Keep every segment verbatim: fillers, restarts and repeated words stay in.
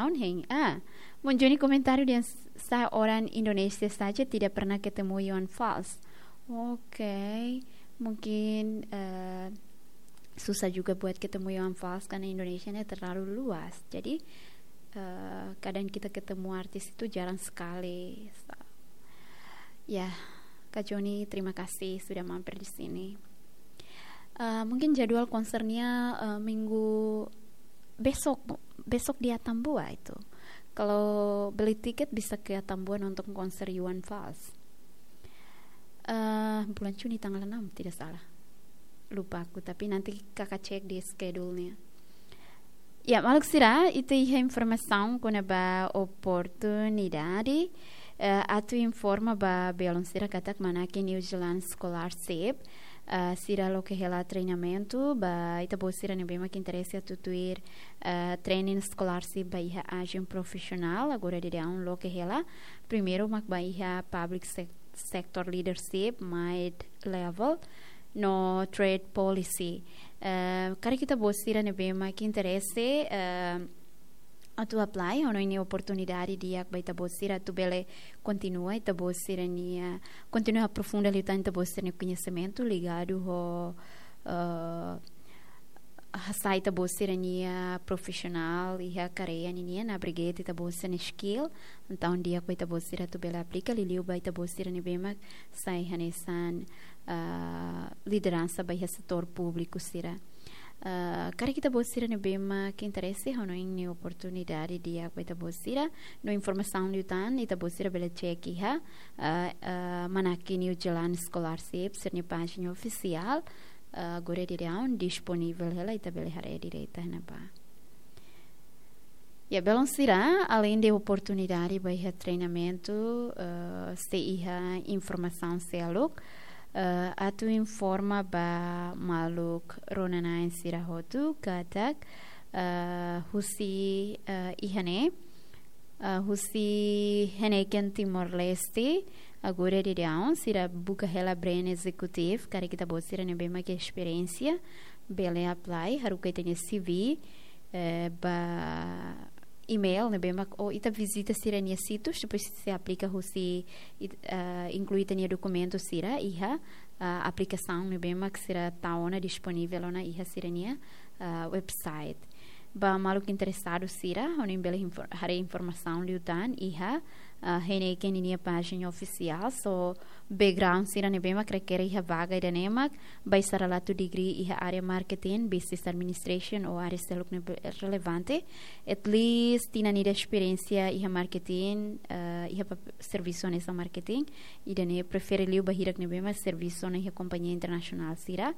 Ohin, ah, Mun Joni komentáriu dehan s-, sa orang Indonesia saja tidak pernah ketemu Iwan Fals. Oke, mungkin, eh, susah juga buat ketemu Iwan Fals karena Indonesia ini terlalu luas. Jadi, eh, kadang kita ketemu artis itu jarang sekali. Sa-, ya, Kak Joni, terima kasih sudah mampir di sini. Eh, mungkin jadwal konsernya, eh, minggu besok, besok di Atambua itu. Kalau beli tiket bisa ke Atambua nonton konser Iwan Fals. Eh, bulan Juni tanggal enam, tidak salah. Lupa aku, tapi nanti kakak cek di schedule-nya. Ya, maluk sira, ita iha informasaun kona-ba oportunidade, eh, atu informa ba belun sira katak Manaki New Zealand Scholarship, eh, sira loke hela treinamentu ba ita-boot sira ne'ebé mak interese atu tuir, eh, training scholarship ba iha ajen profisionál, agora daudaun loke hela. Primeiru mak ba iha public sec-, sector leadership, mid level, no trade policy. Eh, karik ita-boot sira ne'ebé mak interese, eh, atu apply, ha'u hanoin ne'e oportunidade di'ak ba ita-boot sira atu bele kontinua ita-boot sira-nia, kontinua aprofunda liután ita-boot sira-nia koñesimentu ligadu ho, eh, hasa'e ita-boot sira-nia profisionál iha kareia ninian, abrigate ita-boot sira-nia skill. Entaun di'ak ba ita-boot sira atu bele aplika, liuliu ba ita-boot sira ne'ebé mak sai hanesan, eh, lideransa ba iha setór públiku sira. Eh, karik ita-boot sira ne'ebé mak interese, ha'u hanoin ne'e oportunidade di'ak ba ita-boot sira. No informasaun liután, ita-boot sira bele cek iha, eh, eh, Manaki New Zealand Scholarship sira-nia pájina ofisiál, eh, agora daudaun disponivel hela, ita bele haree direta iha ne'ebá. Ya, belun sira, aleinde oportunidade ba iha treinamentu, eh, sei iha informasaun seluk, eh, atu informa ba maluk rona-na'in sira hotu katak, eh, husi, eh, iha ne'e, eh, husi Heineken Timor-Leste, agora daudaun sira buka hela brain executive, karik ita-boot sira ne'ebé mak esperiénsia, bele apply, haruka ita-nia C V, eh, ba email ne'ebé mak, ou ita vizita sira-nia sítius, depois sei aplika husi, it-, eh, inklui ita-nia dokumentu sira iha, eh, aplikasaun ne'ebé mak sira tau ona disponivel ona iha sira-nia, eh, website. Ba maluk interesadu sira, ha'u hanoin bele infor-, haree informasaun liután iha, eh, Heineken ninia pájina ofisiál, so background sira ne'ebé mak rekere iha vaga ida-ne'e mak, ba sira atu degree iha área marketing, business administration, ou área seluk ne'ebé relevante. At least tinan ida esperiénsia iha marketing, eh, iha pap-, servisu hanesan marketing. Ida-ne'e prefere liu ba hirak ne'ebé mak servisu ona iha kompañia internasionál sira.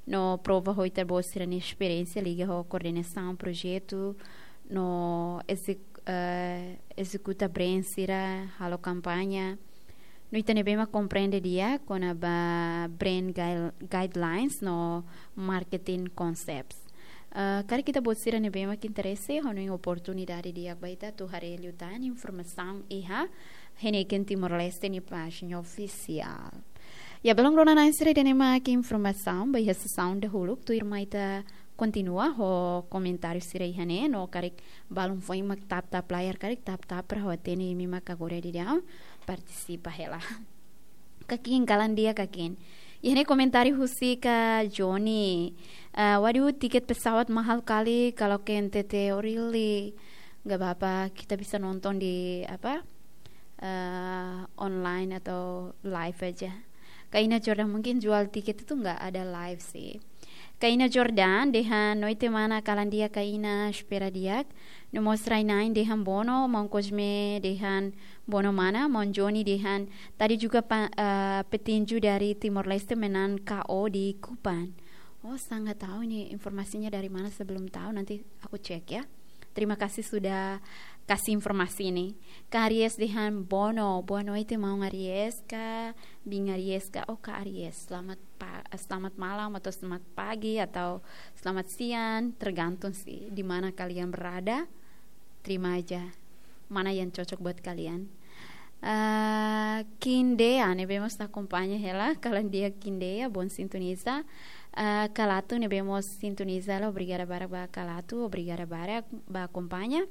No prova ho ita-boot sira-nia esperiénsia liga ho koordenasaun projetu, no ezek-, eh, ezekuta brand sira, halo kampaña. No ita ne'ebé mak komprende di'ak kona-ba brand guil-, guidelines no marketing concepts. Eh, karik ita-boot sira ne'ebé mak interese, ha'u hanoin oportunidade di'ak ba ita atu haree liután informasaun iha Heineken Timor-Leste nia pájina ofisiál. Ya, belun rona-na'in sira, ida-ne'e mak informasaun ba iha sesaun dahuluk, tuirmai ita kontinua ho komentáriu sira iha ne'e, no karik balun foin mak tap-tap layar, karik tap-tap para ha'u hatene imi mak agora daudaun partisipa hela. Kakin, kalan di'ak kakin. Iha ne'e komentáriu husi Kak Joni. Eh, waduh, tiket pesawat mahal kali kalau ke N T T, oh really? Nggak apa-apa, kita bisa nonton di apa, eh, online atau live aja. Kak Ina Jordan, mungkin jual tiket itu nggak ada live sih. Kak Ina Jordan dehan, noite mana, kalan di'ak Kak Ina, espera di'ak. No mós rai-na'in dehan Bono, maun Cosme dehan Bono mana, maun Joni dehan tadi juga pa-, eh, petinju dari Timor Leste menang K O di Kupang. Oh, saya nggak tahu ini informasinya dari mana, saya belum tahu, nanti aku cek ya. Terima kasih sudah kasih informasi ini. Kak Aries dehan Bono, boa noite, maun Aries ka, biin Aries ka, oh, Kak Aries, selamat pa-, selamat malam atau selamat pagi atau selamat siang, tergantung sih di mana kalian berada. Terima aja mana yang cocok buat kalian. Eh, Kindeia ne'ebé mós akompaña hela, kalan di'ak Kindeia, bom sintoniza. Eh, Kalatu ne'ebé mós sintoniza hela, obrigada barak ba Kalatu, obrigada barak ba akompaña.